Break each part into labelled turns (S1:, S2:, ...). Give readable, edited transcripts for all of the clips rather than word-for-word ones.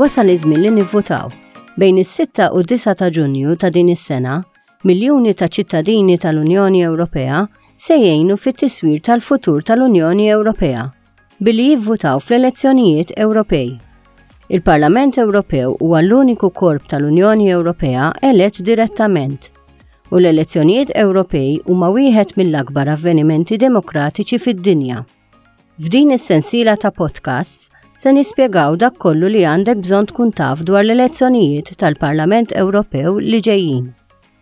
S1: Wasal iż-żmien li nivvutaw. Bejn is-6 u 9 ta' Ġunju ta' din is-sena, miljuni ta' ċittadini tal-Unjoni Ewropea se jgħinu fit-tiswir tal-futur tal-Unjoni Ewropea billi jivvutaw fl-elezzjonijiet Ewropej. Il-Parlament Ewropew huwa l-uniku korp tal-Unjoni Ewropea elett direttament u l-elezzjonijiet Ewropej huma wieħed mill-akbar avvenimenti demokratiċi fid-dinja. F'din is-sensiela ta' podcasts se nispjegaw dak kollu li għandek bżonn tkun taf dwar l-elezzjonijiet tal-Parlament Ewropew li ġejjin.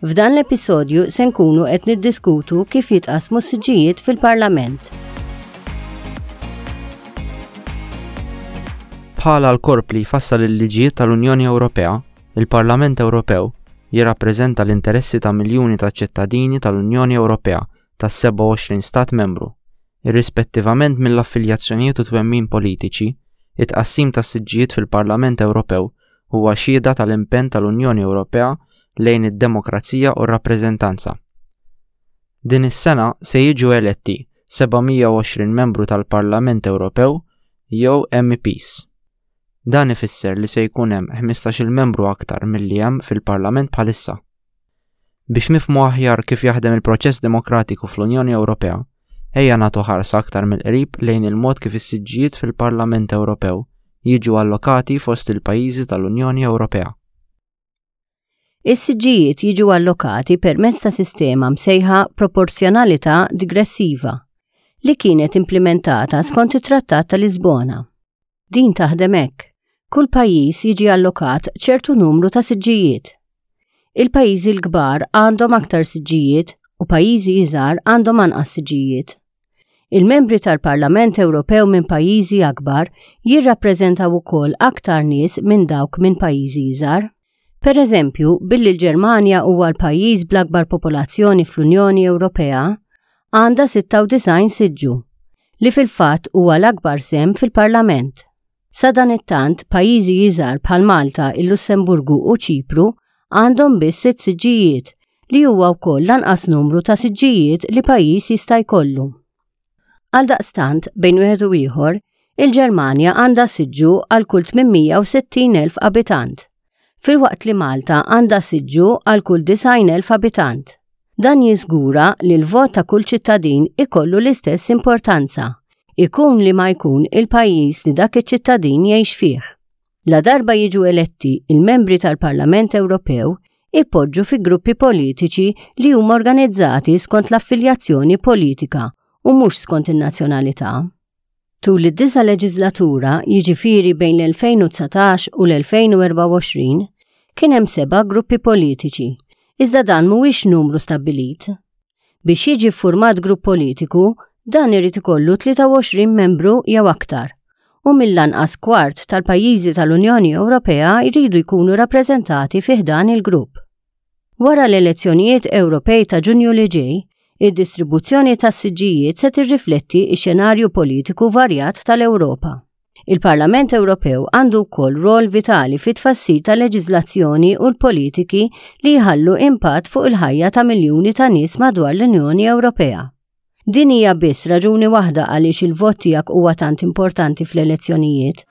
S1: F'dan l-episodju se nkunu qed niddiskutu kif jitqassmu s-siġġijiet fil-Parlament.
S2: Bħala l-korp li jfassal il-liġijiet tal-Unjoni Ewropea, il-Parlament Ewropew jirrappreżenta l-interessi ta' miljuni ta' ċittadini tal-Unjoni Ewropea tas-27 stat membru. Irrispettivament mill-affiljazzjonijiet u twemmin politiċi, it-tqassim tas-siġġijiet fil-Parlament Ewropew huwa xhieda tal-impenn tal-Unjoni Ewropea lejn id-demokrazija u r-rappreżentanza. Din is-sena se jiġu eletti 720 membru tal-Parlament Ewropew jew MEPs. Dan ifisser li se jkun hemm 15-il membru aktar milli hemm fil-Parlament bħalissa. Biex nifhmu aħjar kif jaħdem il-proċess demokratiku fl-Unjoni Ewropea, ejja nagħtu ħarsa aktar mill-qrib lejn il-mod kif is-siġġijiet fil-Parlament Ewropew jiġu allokati fost il-pajjiżi tal-Unjoni Ewropea.
S1: Is-siġġijiet jiġu allokati permezz ta' sistema msejħa proporzjonalità digressiva li kienet implimentata skont it-Trattat ta' Lisbona. Din taħdem hekk. Kull pajjiż jiġi allokat ċertu numru ta' siġġijiet. Il-pajjiżi l-kbar għandhom aktar siġġijiet u pajjiżi iżgħar għandhom anqas siġġijiet. Il-membri tal-Parlament Ewropew minn pajjiżi akbar jirrappreżentaw ukoll aktar nies minn dawk minn pajjiżi iżgħar. Per eżempju, billi l-Ġermanja huwa l-pajjiż bl-akbar popolazzjoni fl-Unjoni Ewropea, għandha 96 siġġu, li fil-fatt huwa l-akbar sehem fil-Parlament. Sadanittant, pajjiżi iżgħar bħal Malta, il-Lussemburgu u Ċipru għandhom biss sitt siġġijiet, li huwa wkoll l-anqas numru ta' siġġijiet li pajjiż jista' jkollu. Għaldaqstant, bejn wieħed u ieħor, il-Ġermanja għandha siġġu għal kull 860,000 abitant, filwaqt li Malta għandha siġġu għal kull 90,000 abitant. Dan jiżgura li l-vot ta' kull ċittadin ikollu l-istess importanza, ikun li ma jkun il-pajjiż li dak iċ-ċittadin jgħix fih. Ladarba jiġu eletti, il-membri tal-Parlament Ewropew ipoġġu fi gruppi politiċi li huma organizzati skont l-affiljazzjoni politika u mhux skont in-nazzjonalità. Tul id-disa' leġiżlatura, jiġifieri bejn l-2019 u l-2024, kien hemm seba' gruppi politiċi, iżda dan mhuwiex numru stabbilit. Biex jiġi ffurmat grupp politiku, dan irid ikollu 23 membru jew aktar, u mill-anqas kwart tal-pajjiżi tal-Unjoni Ewropea jridu jkunu rappreżentati fi ħdan il-grupp. Wara l-elezzjonijiet Ewropej ta' Ġunju li ġej, id-distribuzzjoni tas-siġġijiet se tirrifletti x-xenarju politiku varjat tal-Ewropa. Il-Parlament Ewropew għandu wkoll rol vitali fit-tfassil ta' leġiżlazzjoni u l-politiki li jħallu impatt fuq il-ħajja ta' miljuni ta' nies madwar l-Unjoni Ewropea. Din hija biss raġuni waħda għaliex il-vot tiegħek huwa tant importanti fl-elezzjonijiet.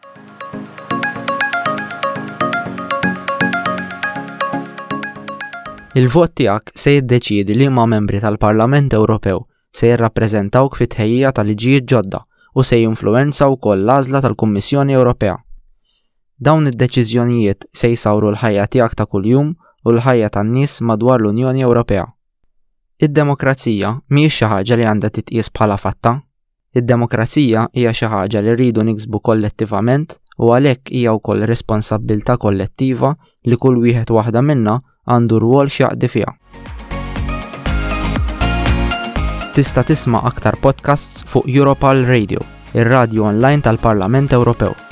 S2: Il-vot tiegħek se jiddeċiedi liema membri tal-Parlament Ewropew se jirrappreżentawk fit-tħejjija ta' liġijiet ġodda u se jinfluwenza wkoll l-għażla tal-Kummissjoni Ewropea. Dawn id-deċiżjonijiet se jsawru l-ħajja tiegħek ta' kuljum u l-ħajja tan-nies madwar l-Unjoni Ewropea. Id-demokrazija mhijiex xi ħaġa li għandha titqies bħala fatta. Id-demokrazija hija xi ħaġa li rridu niksbu kollettivament u għalhekk hija wkoll responsabbiltà kollettiva li kull wieħed waħda minna għandu rwol x'jaqdi fiha. Tista' tisma' aktar podcasts fuq Europal Radio, ir-radju online tal-Parlament Ewropew.